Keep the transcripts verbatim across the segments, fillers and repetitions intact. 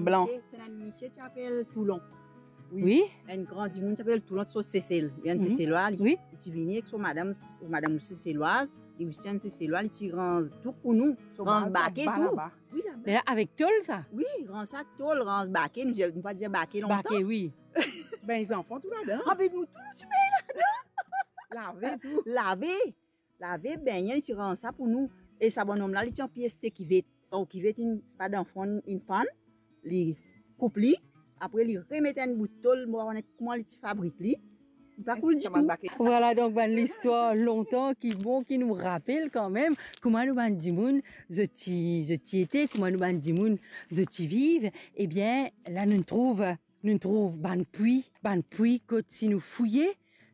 Blan. Misie, ti ena enn misie ti apel Toulon. Wi. Enn gran dimoun ti apel Toulon, ti sot Sesel. Li enn Seselwa, li, wi, li ti vini ek so madam, so madam osi Seselwaz, li osi enn Seselwa, li ti ranz tou pou nou, ranz bake tou. Wi, laba. Avek tol sa? Wi, ranz sa tol, ranz bake, nou dir, nou pa dir bake lontan. Bake, wi. Be zanfan tou ladan. Ah, be nou tou nou ti bengn ladan. Lave tou. Lave. Lave, bengne, li ti ranz sa pou nou. E sa bann-om la, li ti anpli aste kivet. Kan kivet inn, se pa dan fon inn fann, li koup li, apre li remet enn bout tol, mo pa kone kouma li ti fabrik li. Li pa koul ditou. Vwala, donk, bann listwar lontan ki bon, ki nou rapel kanmem kouma nou bann dimoun, zot ti, zot ti ete, kouma nou bann dimoun, zot ti viv. Ebien, la nou trouv, nou trouv bann pwi, bann pwi kot si nou fouye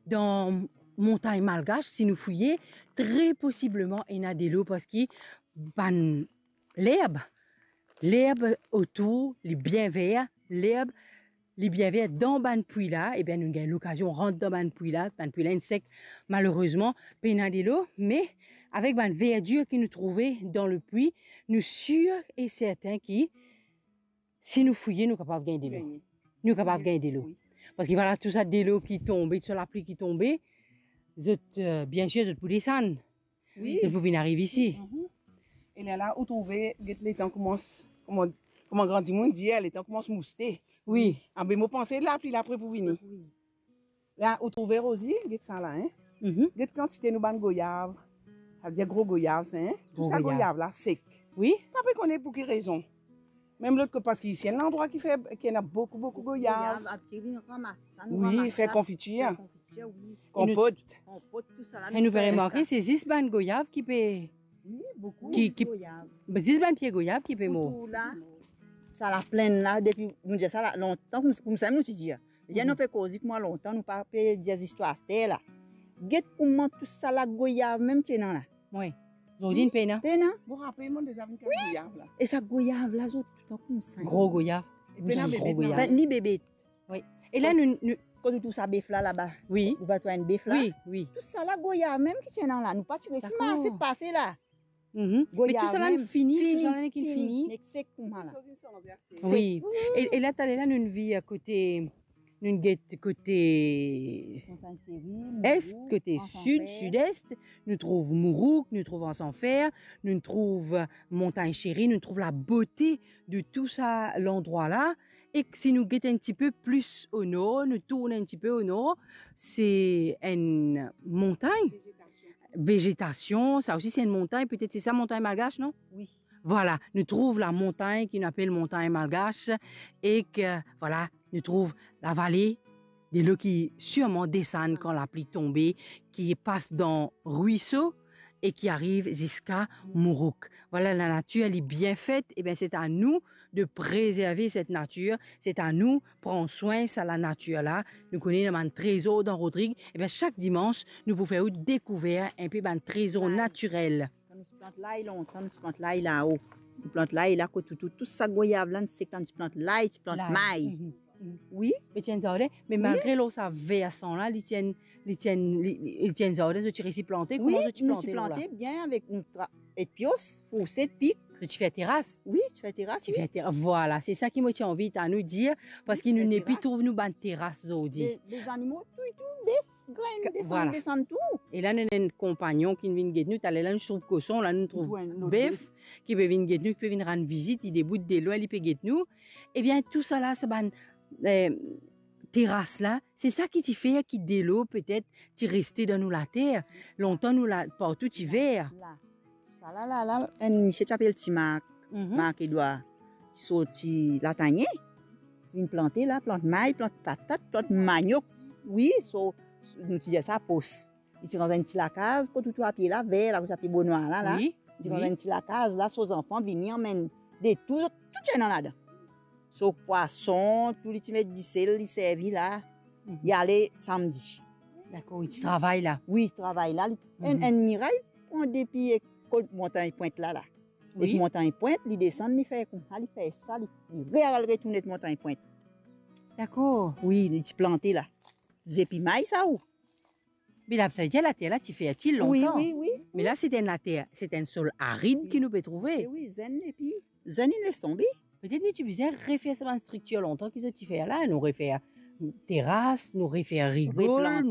dan montagn malgash, si nou fouye, tre posibleman ena delo, parski bann lerb, lerb otour, li bien ver, lerb, li bien ver dan bann pwi la, ebien, nou gagn lokazion rant dan bann pwi la, bann pwi la inn sek, malerezman, pena delo, me avek bann verdir ki nou trouve dan lepwi, nou sir e sertin ki si nou fouye, nou kapav gagn delo. Gagn. Nou kapav gagn delo. Wi. Parski vwala, tou sa delo ki tonbe, tou sa lapli ki tonbe, zot, eh, biensir, zot pou desann. Wi. Zot pou vinn ariv isi. Mhm. E lerla, ou trouve, get letan koumans, kouma, kouma gran dimoun dir, letan koumans mouste. Wi. Ah, be mo panse lapli la pre pou vini. Wi. La, ou trouve, Rozi, get sa la, hein? Mhm. Get kantite nou bann goyav. Savedir gro goyav, sa, hein? Tou sa goyav la sek. Wi. Pa pe kone pou ki rezon. Mem lot kot, parski isi enn landrwa ki fer, ki ena boukou, boukou goyav. Goyav, apre vinn ramas sa, nou ramas sa, fer konfitir. Fer konfitir, wi. Konpot. Konpot, tou sa la, nou fer sa. E nou pe remarke, se zis bann goyav ki pe, wi, boukou ki, ki, goyav. Be, zis bann pie goyav ki pe mor. Pou tou la, sa laplenn la, depi, nou dir sa la, lontan, koumsa, koumsa nou ti dir. Bien, nou pe koze kouma lontan, nou pa pe dir zistwar aster la. Get kouma tou sa la goyav mem ti ena la. Wi. Zordi, wi, pena. Pena. Mo rapel, mo deza vinn kaz goyav la. E sa goyav la, zot toutan koumsa. Gro goyav. E pena bebe, gro goyav. Be, ni bebe. Wi. E la, nou, nou, kot tou sa bef la, laba. Wi. Ou pa trouv enn bef la? Wi, wi. Tou sa la goyav mem ki ti ena la. Nou pa ti resi marse pase la. Mhm. Me tou sa la fini, tou sa la fini. Nek sek kouma la. Wi. Wi. E, e la, taler la, nou vinn kote, nou get kote est, kote sid, sid-est, nou trouv Mourouk, nou trouv Anse en Fer, nou trouv Montagn Chérie, nou trouv labote de tou sa landrwa la. E si nou get enn tipe plis o nor, nou tourn enn tipe o nor, se enn montagn. Vezetasion. Vezetasion, sa osi se enn montagn, petet se sa montagn Malgash, non? Wi. Vwala, nou trouv lamontagn ki nou apel montagn Malgash, ek, vwala, nou trouv lavale, delo ki sirman desann kan lapli tonbe, ki pas dan rwiso e ki ariv ziska Mourouk. Vwala, lanatir, li bien fet, ebien, se a nou de prezerve set natir, se a nou pran swin sa lanatir la. Nou kone ena bann trezor dan Rodrig, ebien, sak dimans, nou pou fer ou dekouver enpe bann trezor natirel. Kan nou ti plant lay lontan, nou ti plant lay lao. Nou plant lay la, kot tou, tou, tou sa goyav la, nou sek, kan nou ti plant lay, ti plant may. Lay. Mhm, mhm. Wi. Pe ti enn zarden, me malgre lor sa versan la, li ti enn, li ti enn, li, li, li ti enn zarden, zot ti resi plante, wi, kouma zot ti plante lor la? Wi, nou ti plante bien avek nou tra-, ek pios, fourset, pik. Zot ti fer teras? Wi, ti fer teras, wi. Ti fer tera-, vwala, se sa ki mo ti anvi ta nou dir, parski nou nepi trouv nou bann teras zordi. Wi, ti fer teras. De, de zanimo, tou, tou, bef. Grenn, desann, vwala, desann tou. E la, nou ena enn konpagnon ki vinn get nou. Taler la, nou trouv koson, la, nou trouv bef ki pe vinn get nou, ki pe vinn rann vizit, li debout delwin, li pe get nou. Ebien, tou sa la, sa bann, eh, teras la, se sa ki ti fer ki delo, petet, ti reste dan nou later. Lontan, nou la, partou ti ver. La. Sa la, la, la, enn misie ti apel Ti Mark, mhm, Mark Edward. Ti sorti Latanye, ti vinn plante la, plant may, plant patat, plant maniok. Wi, so, nou ti dir sa pos. Li ti rann enn ti lakaz, kot ou trouv pie la, ver la, kot sa pie bonwar la, la. Wi, wi. Li ti rann enn ti lakaz la, so zanfan vini anmenn de tou, tou ti ena ladan. So pwason, tou li ti met disel, li servi la. Mhm. Li ale samdi. Dakor, li ti travay la. Wi, travay la. Li, enn, mhm, enn miray pran de pie kot Montagn Pwint la, la. Wi. Ek Montagn Pwint, li desann, li fer koumsa, li fer sa, li, li re al retourn ek Montagn Pwint. Dakor. Wi, li ti plante la. Zepi may sa ou. Me la, sa vedir later la ti fertil lontan. Wi, wi, wi. Me la, se enn later, se enn sol arid ki nou pe trouve. E wi, zenn epi, zenn inn les tonbe. Petet nou ti bizin refer sa bann striktir lontan ki zot ti fer la, nou refer teras, nou refer rigol,